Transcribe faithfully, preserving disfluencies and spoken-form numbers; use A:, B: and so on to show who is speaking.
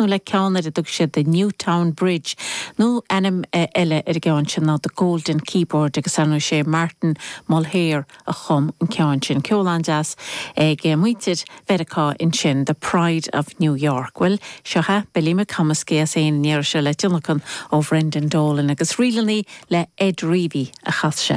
A: críochnú le ceann ar a dtug siad the Newtown Bridge nó ainm eile ar an gceann sin ná the Golden Keyboard agus anu sé Martin Mulhare a chum an ceann sin ceol an-deas ag muintir Mheiriceá ansin the Pride of New York. Well seo é Billy McComiskey as aon néir se le tionlacan ó Brendan Dolan agus rílannaí le Ed Reavy a chas se.